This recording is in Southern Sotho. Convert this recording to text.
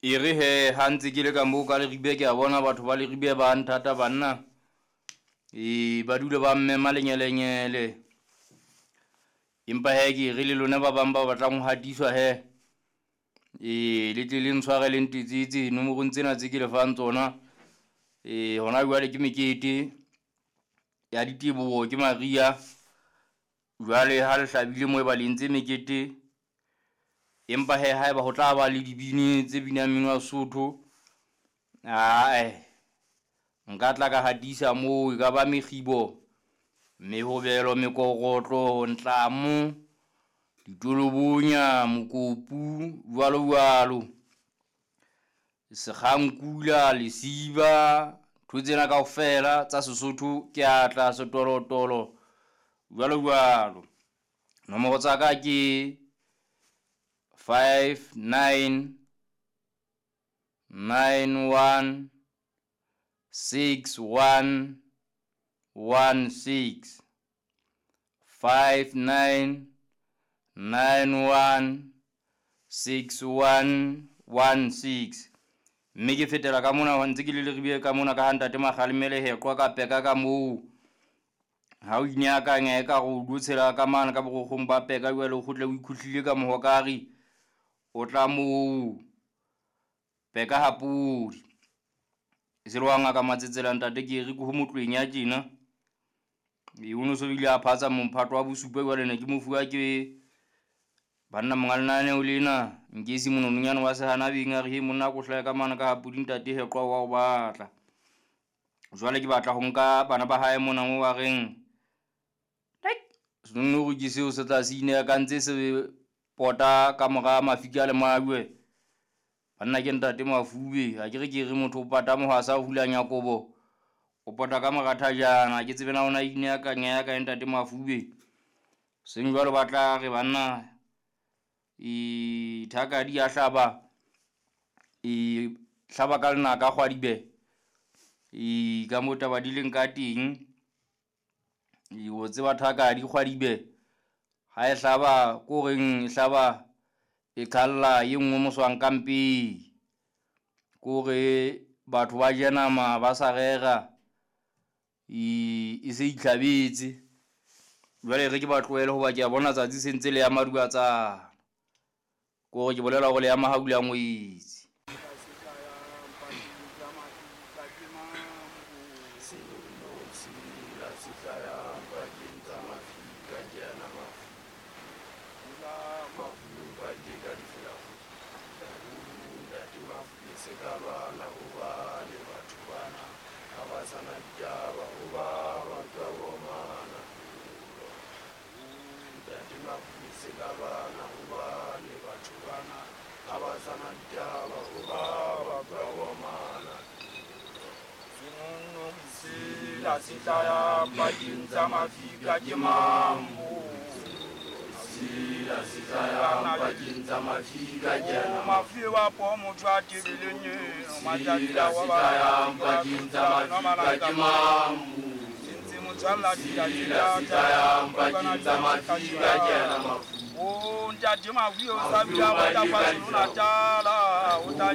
E re he ha ntse ke le ka moo ka Leribe, ke a bona batho ba Leribe ba nthata banna. E ba dule ba mmema lenyelenyele. Empa he ke re le lona ba bang ba batlang ho hatiswa he. E le tle le ntshware le ntetsetse nomorong tsena tse ke le fang tsona. E hona jwale ke mekete ya diteboho ke Maria. Jwale ha le hlabile moo e ba le entse mekete. Empa he haeba ho tla ba le dibini tse binang mmino wa Sesotho, ae nka tla ka hatisa moo e ka ba mekgibo, mehobelo, mekorotlo, ntlamo, ditolobonya, mokopu, jwalo jwalo. Sekgankula, lesiba, ntho tsena kaofela tsa Sesotho ke a tla setolotolo jwalo jwalo. Nomoro tsa ka ke 5 9 9 1 6 1 1 6 5 9 9 1 6 1 1 6. Mme ke fetela ka mona ntse ke le Leribe ka mona ka ha ntate Makgalemele heqwa ka peka ka moo. Ha o ineakanya e ka re o lo tshela ka mane ka borokgong ba peka jwale o kgutle o ikhuhlile ka mohokare, o tla moo peka ha podi. E se le wa ngaka Matsetsela ntate ke re ke ho motlweng ya tjena. E o no so bile a phatsa mophato wa bosupa jwale ne ke mofuwa ke banna monga lenaneo lena Nkesi monononyana wa sehanabeng a re he monna ko hlahe ka mane ka ha podi ntate heqwa wa o batla. Jwale ke batla ho nka bana ba hae mona mo ba reng senonori ke seo se tla se ineakantse se pota ka mora mafika le majwe. Banna ke ntate Mafube, ha ke re ke re motho o pata mohwasa o hulanya kobo, o pota ka mora thajana. Ha ke tsebe na ona ineakanya ya kae ntate Mafube. Seng jwalo ba tla re banna e thakadi ya hlaba, e hlaba ka lenaka kgwadibe. E ka moo taba di leng ka teng. E o tseba thakadi kgwadibe ha e hlaba ko reng e hlaba e qhalla e nngwe moswang ka mpeng. Ko re batho ba je nama ba sa rera, e se itlhabetse. Jwale re ke ba tlohele hoba ke a bona tsatsi se ntse le ya madubatsana. Ko re ke bolela hore le ya mahaula ngwetsi. Ntate Mafu o sa bula o tla KwaZulu Natal, o tla